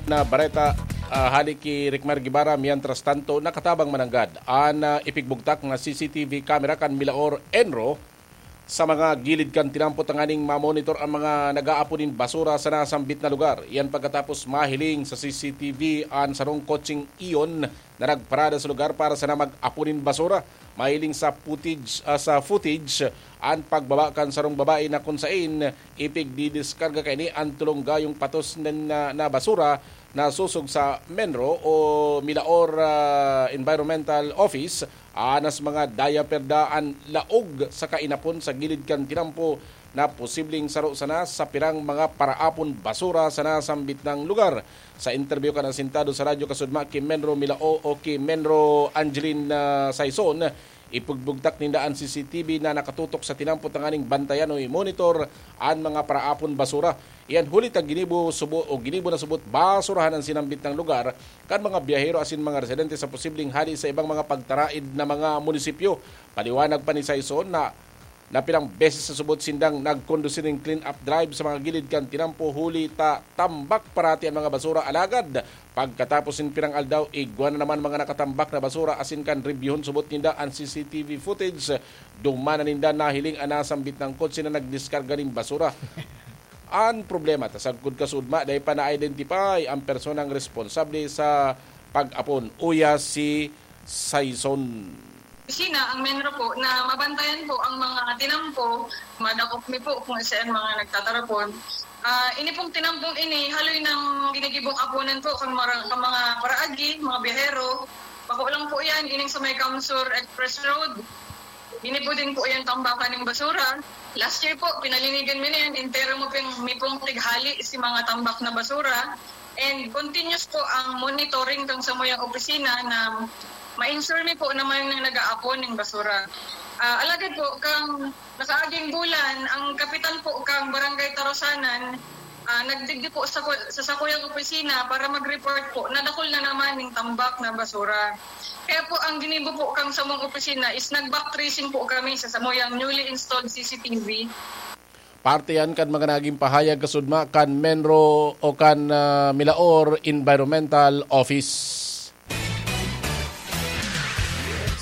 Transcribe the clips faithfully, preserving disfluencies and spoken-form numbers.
na bareta, ah, hali ki Rickmar Guevara. Mientras tanto, nakatabang mananggad an, ah, ipigbugtak na C C T V camera kan Milaor ENRO sa mga gilid kan tinampo tanganing mamonitor ang mga nag-aapon nin basura sa nasambit na lugar. Iyan pagkatapos mahiling sa C C T V an sarong kotseng iyon na nagparada sa lugar para sana mag-apon nin basura. Mahiling sa footage, ah, sa footage an pagbaba kan sarong babae na kun sain ipigdidiskarga kaini an tolong gayong patos nin, na, na basura na sosog sa MENRO o Milaor, ah, Environmental Office. Anas mga diaper da an laog sa kainapon sa gilid kan tinampo na posibleng saro sana sa pirang mga paraapon basura sa nasambit na lugar. Sa interview kan asintado sa Radyo Kasudma ki MENRO Milao o ki MENRO Angeline, ah, Saison, ipigbugtak ninda an C C T V na nakatutok sa tinampo tanganing bantayan o i-monitor an mga paraapon basura. Iyan huli ta ginibo subo o ginibo na subot basurahan an sinambit na lugar kan mga biyahero asin mga residente sa posibleng hali sa ibang mga pagtaraid na mga munisipyo. Paliwanag pa ni Saison na na pirang beses na subot sindang nagkondusir nin clean-up drive sa mga gilid kan tinampo huli ta tambak parati an mga basura. Alagad pagkatapos nin pirang aldaw, igwa na naman mga nakatambak na basura asin kan rebyuhon subot ninda an C C T V footage. Duman na ninda nahiling an nasambit na kotse na nagdiskarga nin basura. An problema ta sagkod kasudma, dai pa na-identify ang personang responsable sa pag-apon, uya si Saison. Opisina ang MENRO po na mabantayan po ang mga tinampo. Madakop mi po kung isa ang mga nagtatarapon. Ah, ini pong tinampong ini, haloy ng ginigibong apunan po kang mara-, kang mga paraagi, mga biyahero. Bako lang po yan, ining sa may Kamsur Express Road. Ginibo din po yan tambakan ng basura. Last year po, pinalinigan mi na yan. Entero mo ping, mi pong tighali si mga tambak na basura. And continuous po ang monitoring kang samuyang opisina na ma-ensure mi po naman na nag-aapon ng basura. Ah, alagad po, kang nakaaging bulan, ang kapitan po kang Barangay Tarosanan, ah, nagdigdi po sa ku-, sa sakuyang opisina para mag-report po na dakul na naman ng tambak na basura. Kaya po, ang ginibo po kang samong opisina is nag-back tracing po kami sa samuyang newly installed C C T V. Parte yan kan mga naging pahayag kasudma kan MENRO o kan, ah, Milaor Environmental Office.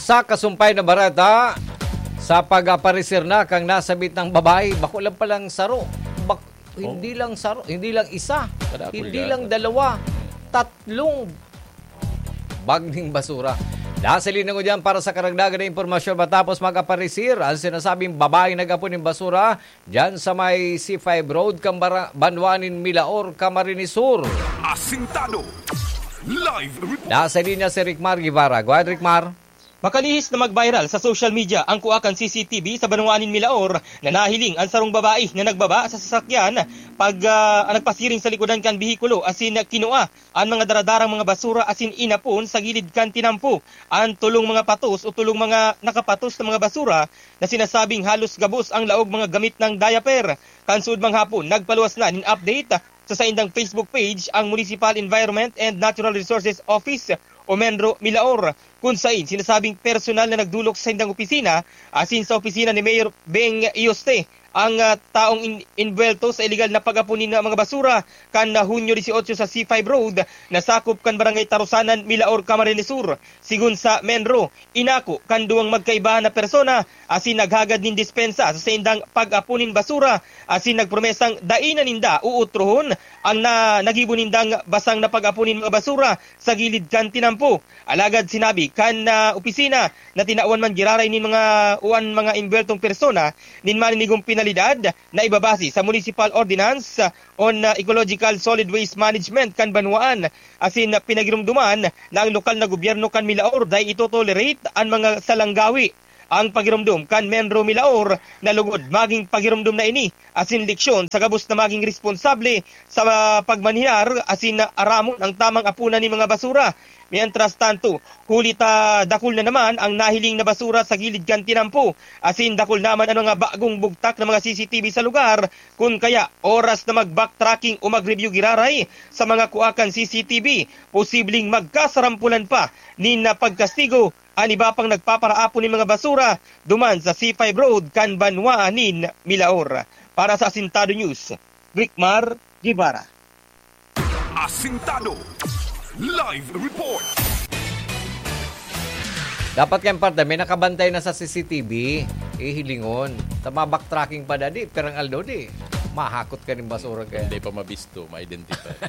Sa kasumpay na bareta, sa pag-aparecer na kang nasabit ng babae, bako lang palang saro. Bak-, hindi lang saro, hindi lang isa, Kadakol hindi lang dalawa, tatlong bag ning basura. Nasa linya ko dyan para sa karagdagan na impormasyon matapos mag-aparecer ang sinasabing babaeng nag-apon ng basura dyan sa may C five Road, Kambara, Banwaan nin Milaor, Camarines Sur. Asintado. Live report. Nasa linya si Rickmar Guevara. Go ahead, Rickmar. Makalihis na mag-viral sa social media ang kuha kan C C T V sa Banwaan nin Milaor na nahiling ang sarong babae na nagbaba sa sasakyan pag, ah, nagpasiring sa likodan kan behikulo asin kinua an mga daradarang mga basura asin inapon sa gilid kan tinampo. An tolong mga patos o tolong mga nakapatos na mga basura na sinasabing halos gabos ang laog mga gamit ng diaper. Kan sudmang hapon, nagpaluwas na nin update sa saindang Facebook page ang Municipal Environment and Natural Resources Office o MENRO Milaor, kun sain sinasabing personal na nagdulok sa saindang opisina asin sa opisina ni Mayor Beng Iyoste ang, ah, taong in-, inbuwelto sa iligal na pag-apon nin mga basura kan, ah, Hunyo dieciocho sa C five Road na sakop kan Barangay Tarusanan, Milaor, Camarines Sur. Sigon sa MENRO, inako kan duwang magkaiba na persona asin naghagad nin dispensa sa saindang pag-apon nin basura asin nagpromesang dai na ninda uutrohon ang na, nagibo nindang basang na pag-apon nin mga basura sa gilid kan tinampo. Alagad sinabi kan, ah, opisina na tinawan man giraray nin mga o an mga imbuweltong persona nin maninigong penalidad na ibabase sa Municipal Ordinance on, ah, Ecological Solid Waste Management kan banwaan, asin pinagirumduman na ang lokal na gobyerno kan Milaor dai ito-tolerate an mga salanggawi. Ang pagirumdom kan MENRO Milaor na lugod magin pagirumdom na ini asin leksyon sa gabos na magin responsable sa pagmanehyar asin aramon ang tamang apunan nin mga basura. Mientras tanto, huli ta dakul na naman ang nahiling na basura sa gilid kan tinampo, asin dakul naman an mga bagong bugtak na mga C C T V sa lugar. Kun kaya, oras na mag-backtracking o mag-review giraray sa mga kuha kan C C T V, posibleng magkasarampulan pa nin pagkastigo an iba pang nagpaparaapon nin mga basura duman sa C five Road kan banwaan nin Milaor. Para sa Asintado News, Rickmar Guevara. Asintado. Live report. Dapat kayong parte, may nakabantay na sa C C T V, ihilingon. Tama, backtracking pa, dadi, pirang aldo, di. Mahakot ka ning basura kaya. Hindi pa mabisto, ma-identify.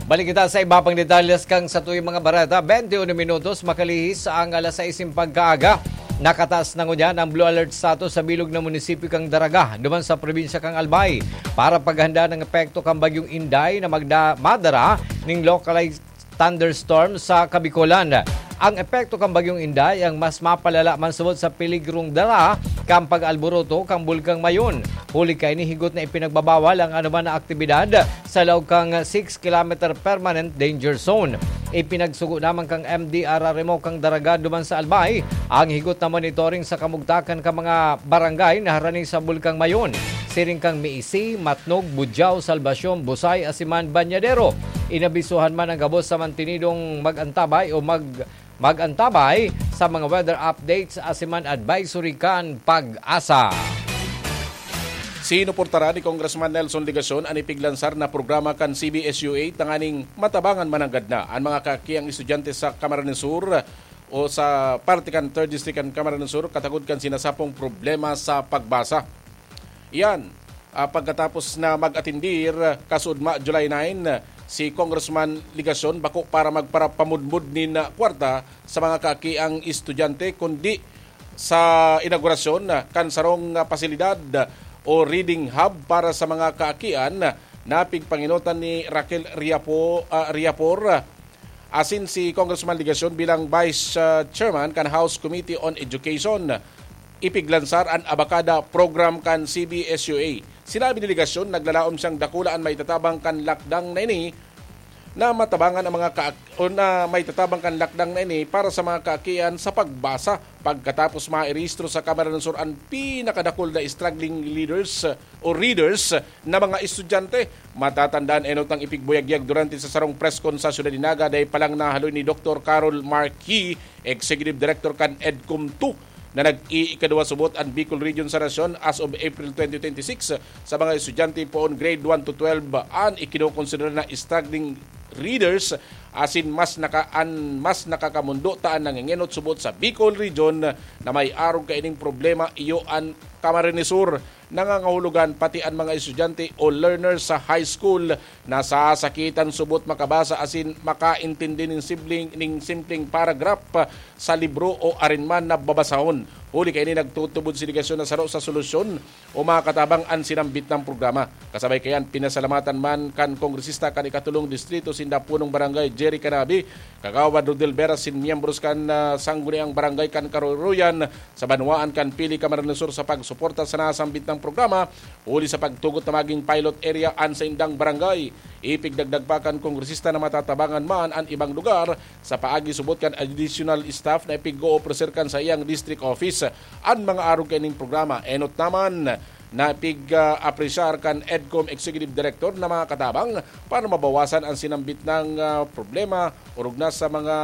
Balik kita sa iba pang detalles kang sa tuyong mga bareta. Twenty-one minutos, makalihis ang alas sais ning pagkaaga. Nakataas na ngunyan ang blue alert status sa bilog na munisipyo kang Daraga, duman sa probinsya kang Albay, para paghanda ng epekto kang Bagyong Inday na magda-, madara ning localized thunderstorm sa Kabikolan. Ang epekto kan Bagyong Inday ang mas mapalala man subot sa peligrong dara kan pag-alboroto kan Bulkang Mayon. Huli kaini, higot na ipinagbabawal ang anoman na aktibidad sa laog kan six kilometer permanent danger zone. Ipinagsugo naman kan M D R R M O kan Daraga duman sa Albay ang higot na monitoring sa kamugtakan kan mga barangay na harani sa Bulkang Mayon, siring kan Miisi, Matnog, Budiao, Salvacion, Busay, asin man Bañadero. Inabisuhan man an gabos sa mantenidong mag-antabay o mag-, mag-antabay sa mga weather updates asin man advisory kan PAGASA. Sinuportaran ni Congressman Nelson Legacion an ipiglansar na programa kan C B S U A tanganing matabangan mananggad na an mga kaakiang estudyante sa Camarines Sur o sa parte kan Third District kan Camarines Sur, katagod kan sinasapong problema sa pagbasa. Iyan, ah, pagkatapos na mag-atindir, kasudma, July nine, si Congressman Legacion bako para magparapamudmod nin, ah, kwarta sa mga kaakiang estudyante, kundi sa inaugurasyon, ah, kan sarong, ah, pasilidad o reading hub para sa mga kaakian na pigpangenotan ni Raquel Riapo-, ah, Riapor, asin si Congressman Legacion bilang Vice, ah, Chairman kan House Committee on Education. Ipiglansar an Abacada Program kan C B S U A. Sinabi ni Legacion, naglalaom siyang dakula an maitatabang kan lakdang na ini na matabangan ang mga kaak-, o na maitatabang kan lakdang na ini para sa mga kaakian sa pagbasa. Pagkatapos mairehistro sa Camarines Sur an pinakadakul na struggling leaders o readers na mga estudyante. Matatandaan, enot ang ipigbuyagyag durante sa sarong press con sa Syudad nin Naga, dai pa lang nahaloy ni Doktor Carol Marquis, Executive Director kan EDCOM two, na nag-iikadwa subot an Bicol Region sa nasyon as of April twenty twenty-six sa mga estudyante poon grade one to twelve an ikinokonsidera na struggling readers, asin mas naka-, an mas nakakamondo ta an nangengenot subot sa Bicol Region na may arog kaining problema, iyo an Camarines Sur. Nangangahulugan pati an mga estudyante o learners sa high school nasasakitan subot makabasa asin makaintindi nin simpleng, nin simpleng paragraph sa libro o arin man na babasahon. Huli kaini, nagtutubod si Legacion na saro sa solusyon o makatabang an sinambit na programa. Kasabay kayan, pinasalamatan man kan kongresista kan ikatolong distrito sinda punong barangay Jerry Canabi, Kagawad Rodel Vera, sin miyembros kan, ah, Sangguniang Barangay kan Karuruyan sa banwaan kan Pili, Camarines Sur sa pagsuporta sa nasambit na programa, huli sa pagtugot na maging pilot area an saindang barangay. Ipigdagdag pa kan kongresista na matatabangan man an ibang lugar sa paagi subot kan additional staff na ipig-oofreser kan saiyang district office an mga arog kaining programa. Enot naman na pig-apresyar kan EDCOM Executive Director na mga katabang para mabawasan an sinambit na, ah, problema, orog na sa mga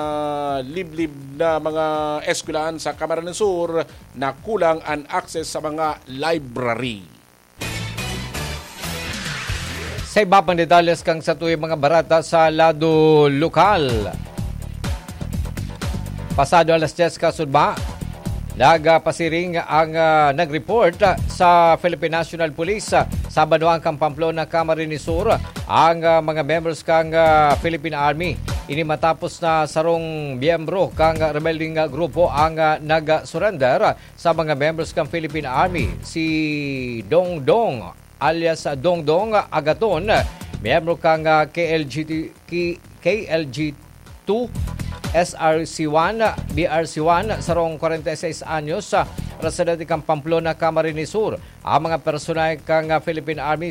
liblib na mga eskwelahan sa Camarines Sur na kulang an access sa mga library. Sa iba pang detalles kan satuyang mga bareta sa lado lokal. Pasado alas dyes kasudma, nagpasiring ang, ah, nag-report, ah, sa Philippine National Police, ah, sa banwaan kan Pamplona, Camarines Sur, ang, ah, mga members kan, ah, Philippine Army. Ini matapos na sarong miyembro kan rebeldeng, ah, grupo ang, ah, nag-surrender sa mga members kan Philippine Army, si Dongdong alias Dongdong Agaton, miyembro kan, ah, K L G T, K-, K L G two, S R C one, B R C one, sarong kwarenta y seis anyos, ah, residente kan Pamplona, Camarines Sur. Ang mga personahe kan, ah, Philippine Army